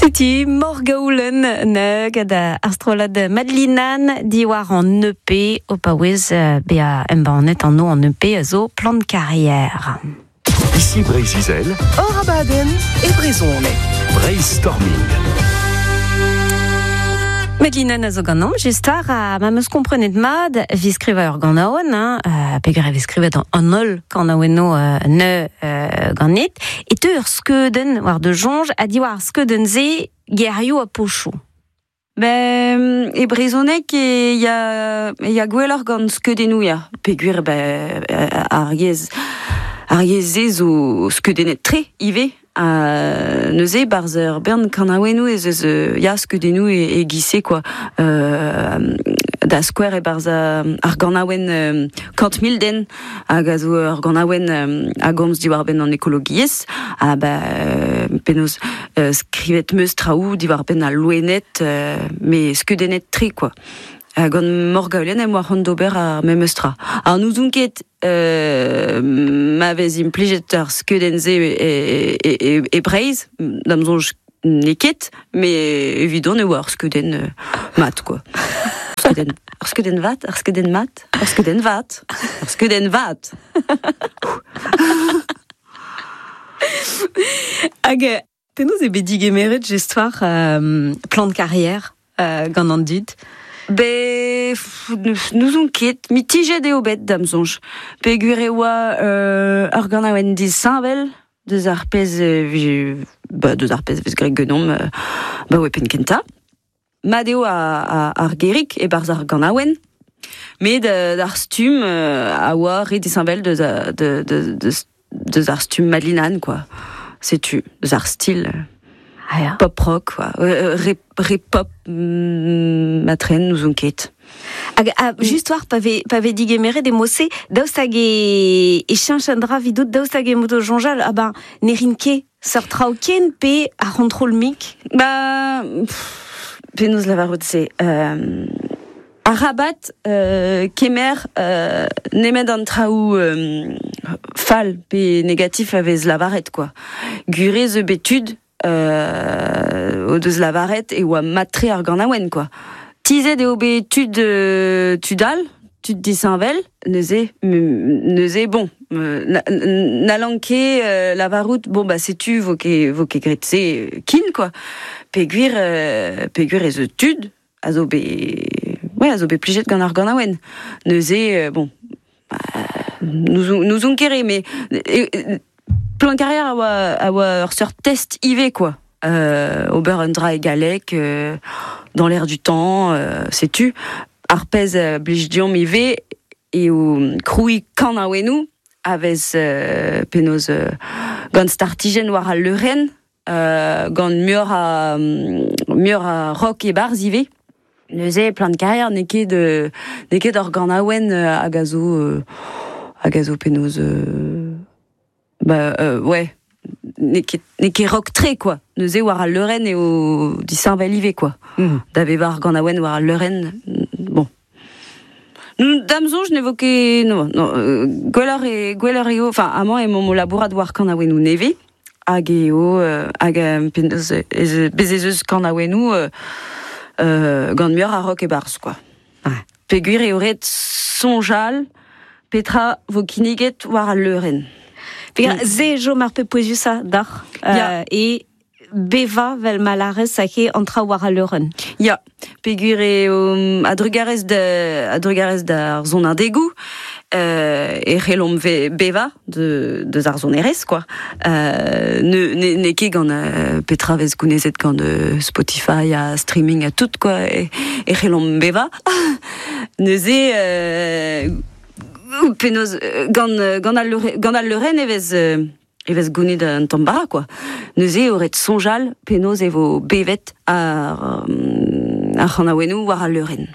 Setu Morgaoulen ne gant ar strollad Madelinan diwar an EP o paouez bezañ embannet anv an EP a zo Plan de carrière. Ici Breizh-Izel. Hor abadenn e brezhoneg. Breizhstorming. Madelinan a zo ganeomp, just war ha ma 'm eus komprenet mat evit skrivañ ur ganaouenn, hein, peogwir e vez skrivet an holl kanaouennoù ne ganit, e teu ur skeudenn war da soñj ha diwar ar skeudenn-se gerioù ha pochoù. Ben, e brezhoneg e ya, e ya gwelloc'h gant skeudennoù ya. Peogwir ben, ar yezh ar yezh-se zo skeudennet-tre ivez. Ha neuze 'barzh ur bern kanaouennoù ez eus ya skeudennoù e-giz-se quoi. Da skouer e-barzh ar ganaouenn 100 000 den hag a zo ur ganaouenn a gomz diwar-benn an ekologiezh ha ben penaos skrivet 'meus traoù diwar-benn al loened met skeudennet-tre quoi. Gant Morgaolen em boa c'hoant d'ober ar memes tra. Ha n'ouzon ket ma vez implijet ar skeudenn-se e Breizh, da'm soñj n'eo ket, met evidon e oa ur skeudenn mat quoi. Skeudenn, ur skeudenn vat, ur skeudenn mat, ur skeudenn vat, ur skeudenn vat. Hag penaos eo bet digemeret just war plan de carrière gant an dud? Be n'ouzon ket, mitijet eo bet da'm soñj. Peogwir e oa ur ganaouenn disheñvel deus ar pezh ba, deus ar pezh vez graet ganeomp 'baoe penn kentañ. Mat eo ar gerig e-barzh ar ganaouenn, met ar stumm a oa re disheñvel deus deus ar stumm Madelinan quoi. Setu, deus ar stil pop rock quoi. Re, re pop matren n'ouzon ket. Hag just war pa vez pa vez digemeret e mod-se, daoust hag e e cheñch un dra evidout, daoust hag emaout o soñjal, ah ben ne rin ket seurt traoù ken pe ar c'hontrol mik? Ba penaos lavarout se arabat kemer nemet an traoù fall pe negatif a vez lavaret quoi. Gwir eo zo bet tud o deus lavaret e oa mat-tre ar ganaouenn quoi. Tizhet eo bet tud tud all, tud disheñvel, neuze neuze bon n'hallan ket lavarout bon bah setu vo ket vo ket graet se kin quoi. Peogwir peogwir ez eus tud a zo bet ouais a zo bet plijet gant ar ganaouenn. Neuze bon n'ouzon ket re met plan carrière a oa a oa ur seurt test ivez quoi. Ober un dra e galleg dans l'air du temps, setu. Ar pezh a blij deomp ivez eo krouiñ kanaouennoù a vez penaos gant startijenn war al leurenn, gant muioc'h a muioc'h a rock e-barzh ivez. Neuze plan carrière n'eo ket n'eo ket ur ganaouenn hag a zo hag a zo penaos ba ouais n'eo ket n'eo ket rock-tre quoi. Neuze war al leurenn eo disheñvel ivez quoi. Da vevañ ar ganaouenn war al leurenn, bon. Da'm soñj ne vo ket non, non gwelloc'h eo gwelloc'h eo enfin amañ emaomp o labourat war kanaouennoù nevez hag eo hag penaos ez bez ez eus kanaouennoù gant muioc'h a rock e-barzh quoi. Peogwir eo ret soñjal petra vo kinniget war al leurenn. Peogwir se 'chom ar pep pouezusañ deoc'h e bevañ 'vel ma lârez aze an traoù war al leurenn. Ya, peogwir eo a-drugarez da a-drugarez d'ar sonadegoù e c'hellomp bevañ deus ar sonerezh quoi. N'eo ket gant petra vez gounezet gant Spotify ha streaming ha tout quoi e c'hellomp bevañ. Neuze penaos gant gant al gant al leurenn e vez e vez gounit un tamm bara quoi. Neuze eo ret soñjal penaos e vo bevet ar ar c'hanaouennoù war al leurenn.